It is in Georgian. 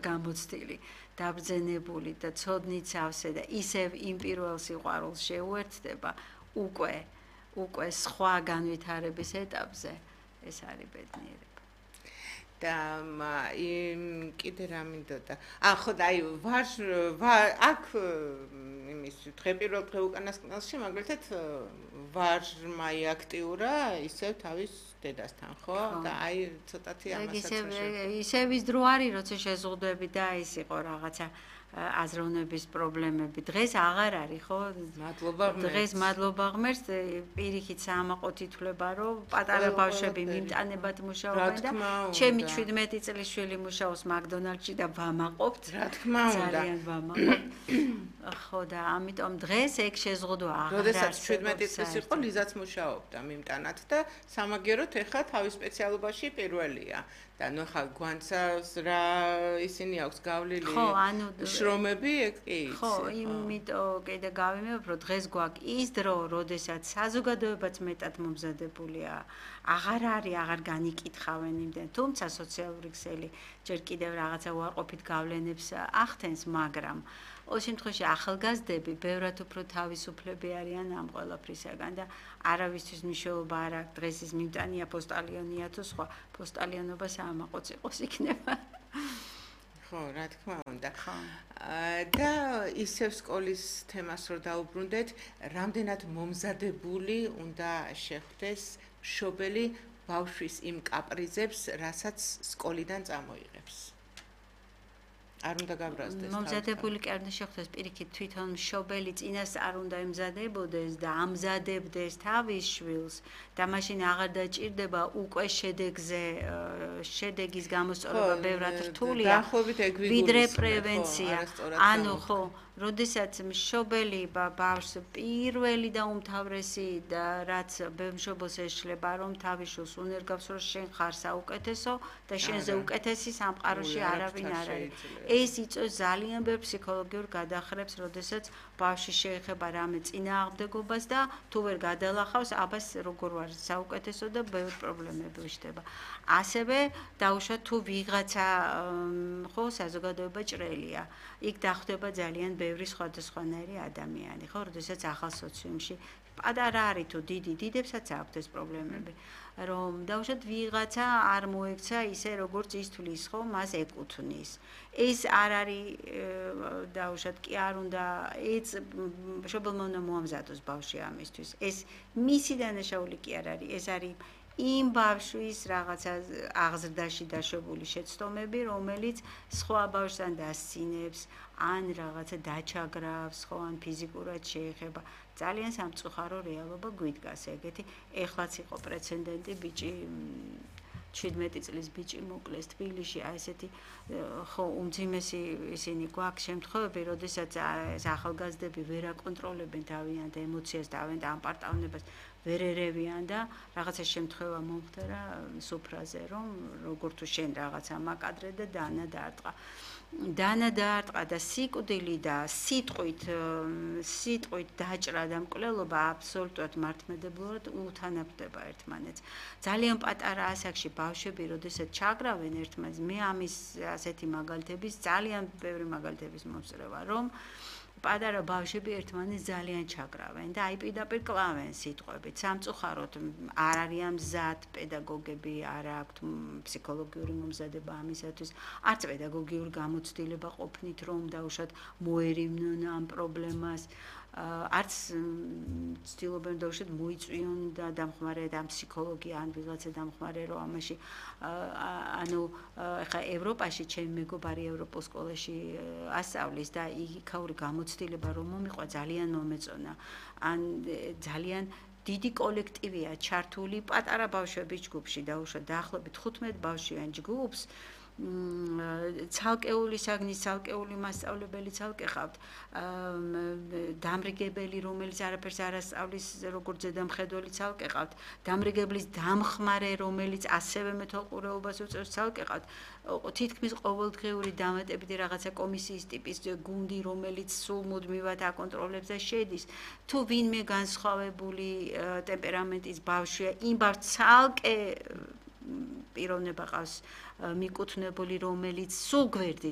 გამოცდილი, დაბრძენებული და ცოდნით სავსე და ისევ იმ პირველ სიყვარულს შეუერთდება, უკვე სხვა განვითარების ეტაპზე ეს არის ბედნიერება. და კიდე რა მინდოდა. ხო და აი აქ იმის დღე პირველ დღე უკანასკნელში მაგალითად ვაჟმა აქტიურა ისევ თავის დედასთან, ხო? და აი ცოტათი ამასაც ისევ ის დრო არის, როცა შეზღუდვები და ის იყო რაღაცა აზროვნების პრობლემები. დღეს აღარ არის, ხო? მადლობა ღმერთს. დღეს მადლობა ღმერთს, პირიქით საამაყო თითვლება, რომ პატარა ბავშვები მიმტანებად მუშაობენ და ჩემი 17 წლის შვილი მუშაობს მაკდონალდში და ვამაყობთ. რა თქმა უნდა. ძალიან ვამაყობთ. ხო და ამიტომ დღეს ეგ შეზღუდვა აღარ არის. როდესაც 17 წლის იყო, ლიზაც მუშაობდა მიმტანად და სამაგიეროდ ეხლა თავის სპეციალობაში პირველია. და ნუ ხა გვანცავს რა ისინი აქვს გავლილი შრომები ეგ კი იცი. ხო, იმიტომ კიდე გავიმეორებ, რომ დღეს გვაქვს ის დრო, როდესაც საზოგადოებაც მეტად მომზადებულია. აღარ განიკითხავენ იმდენ, თუმცა სოციალური ქსელი ჯერ კიდევ რაღაცა უარყოფით გავლენებს ახდენს, მაგრამ ყოველ შემთხვევაში ახალგაზრდები ბევრად უფრო თავისუფლები არიან ამ ყველაფრისაგან და არავისთვის მნიშვნელობა არ აქვს დღეს ის მიმტანია პოსტალიონია თუ სხვა პოსტალიონობა საამაყოც იყოს იქნება. ხო, რა თქმა უნდა. და ისევ სკოლის თემას რო დაუბრუნდეთ, რამდენად მომზადებული უნდა შეხვდეს მშობელი ბავშვის იმ კაპრიზებს, რასაც სკოლიდან წამოიღებს. არ უნდა გაბრაზდეს. მომზადებული კი არ უნდა შეხვდეს პირიქით თვითონ მშობელი წინას არ უნდა ემზადებოდეს და ამზადებდეს თავის შვილს და მაშინ აღარ დაჭირდება უკვე შედეგის გამოსწორება ბევრად რთულია. ვიდრე პრევენცია. ანუ ხო, როდესაც მშობელი ბავშვს პირველი და უმთავრესი და რაც ბევრ მშობელს ეშლება, რომ თავის შვილს უნერგავს, რომ შენ ხარ საუკეთესო და შენზე უკეთესი სამყაროში არავინ არ არის. ეს იწვევს ძალიან ბევრ ფსიქოლოგიურ გადახრებს, როდესაც ბავშვი შეეხება რამე წინააღმდეგობას და თუ ვერ გადალახავს, აბას როგორ ვარ საუკეთესო და ბევრ პრობლემები ვიშდება. ასევე დაუშვათ თუ ვიღაცა ხო საზოგადოება ჭრელია. იქ დახვდება ძალიან ბევრი სხვადასხვანაირი ადამიანი, ხო, როდესაც ახალ სოციუმში პატარა არის თუ დიდებსაც აქვთ ეს პრობლემები. რომ დაუშვათ ვიღაცა არ მოექცა ისე როგორც ის თulis ხო მას ეკუთვნის. ეს არ არის დაუშვათ კი არ უნდა ეს მშობელმა უნდა მოამზადოს ბავშვი ამისთვის. ეს მისი დანაშაული კი არ არის, ეს არის იმ ბავშვის რაღაცა აღზრდაში დაშვებული შეცდომები, რომელიც სხვა ბავშვთან დასცინებს, ან რაღაცა დაჩაგრავს, ხო, ან ფიზიკურად შეეხება. ძალიან სამწუხარო რეალობა გვიდგას ეგეთი. ეხლაც იყო პრეცედენტი, ბიჭი 17 წლის ბიჭი მოკლეს თბილისში, აი ესეთი ხო უმძიმესი ისინი გვაქვს შემთხვევები, როდესაც ახალგაზრდები ვერ აკონტროლებენ თავიანთ ემოციას, თავიანთ ამპარტავნებას, ვერ ერევიან და რაღაცა შემთხვევა მომხდარა სუფრაზე, რომ როგორ თუ შენ რაღაცა მაკადრე და დანა დაარტყა და სიკვდილი და სიტყვით დაჭრა და მკვლელობა აბსოლუტურად მართლმადებლურად უთანაფდება ერთმანეთს. ძალიან პატარა ასაკში ბავშვები, როდესაც ჩაგრავენ ერთმანეთს, მე ამის ასეთი მაგალითების ძალიან ბევრი მაგალითების მომსწრება, რომ პატარა ბავშვები ერთმანეთს ძალიან ჩაგრავენ და აი პირდაპირ კლავენ სიტყვებით. სამწუხაროდ არ არიან მზად პედაგოგები, არ აქვთ ფსიქოლოგიური მომზადება ამისათვის, არც პედაგოგიური გამოცდილება ყოფნით, რომ დაუშვათ მოერივნონ ამ პრობლემას. არც ცდილობენ დაუშვათ მოიწვიონ და დამხმარე და ფსიქოლოგი ან ვიღაცა დამხმარე რომ ამაში ანუ ხა ევროპაში ჩემი მეგობარი ევროპულ სკოლაში ასწავლის და იქაური გამოცდილება რომ მომიყვა ძალიან მომეწონა. ან ძალიან დიდი კოლექტივია ჩართული პატარა ბავშვების ჯგუფში დაუშვათ დაახლოებით 15 ბავშვიან ჯგუფს. ცალკეული საგნის ცალკეული მასწავლებელი ცალკე ყავთ დამრიგებელი რომელიც არაფერს არ ასწავლის როგორც ზედამხედველი ცალკე ყავთ დამრიგებლის დამხმარე რომელიც ასევე მეთვალყურეობას უწევს ცალკე ყავთ თითქმის ყოველდღიური დამატებითი რაღაცა კომისიის ტიპის გუნდი რომელიც სულ მუდმივად აკონტროლებს და შედის თუ ვინმე განსხვავებული ტემპერამენტის ბავშვია იმ ბავშვს ცალკე პიროვნება ყავს მიკუთვნებული რომელიც სულ გვერდით